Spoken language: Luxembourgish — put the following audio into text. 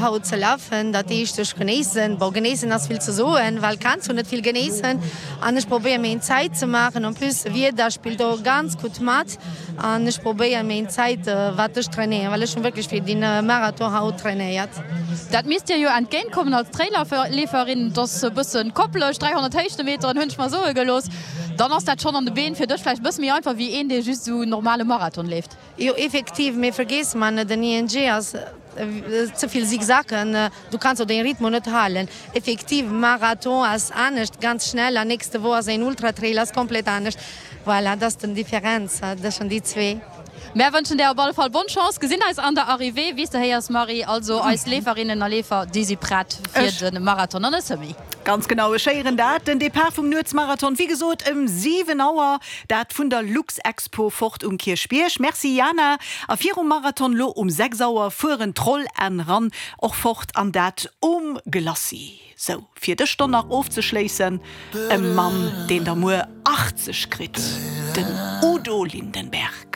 haut ze lafen. Dat heescht ech genéissen, bon genéissen ass vill ze soen, well kanns jo net vill genéissen an ech probéier meng Zäit ze maachen. En plus Wieder spillt och ganz gutt mat an ech probéier meng Zäit wat ech trainéieren, well ech hunn wierklech fir den Marathon haut trainéiert. Dat misst dir jo entgéint kommen als Trailleeferin, et ass e bëssen koppelech, 300 Héichtemeteren hunn ech mer soe gelooss, dann ass dat schonn an de Been fir dech vläicht e bësse méi einfach wéi een dee just esou normale Marathon leeft. Jo effektiv, mee vergiess mar net, den ING ass ze vill Zigzacken, du kanns och den Rhythmus net halen. Effektiv, Marathon ass anescht, ganz schnell, an nächste Woch ass een Ultratrail, ass komplett anescht. Voilà, dat ass den Differenz tëschent déi zwee. Mär wënschen där op alle Fall bonne Chance, gesinn eis an der Arrivée, wéi s de héiers Marie. Also eis Leeferinnen a Leefer, déi si prett fir de Marathon an de Semi. Ganz genau, ech héieren dat. Den Depart vum Nuetsmarathon, wéi gesot ëm 7 Auer, dat vun der Luxexpo fort um Kierchbierg. Merci Jana. A virum Marathon lo um 6 Auer fueren d'Roll an Run och fort an dat um Glacis. Sou, fir dës Stonn nach ofzeschléissen, e Mann, deen der muer 80 kritt, den Udo Lindenberg.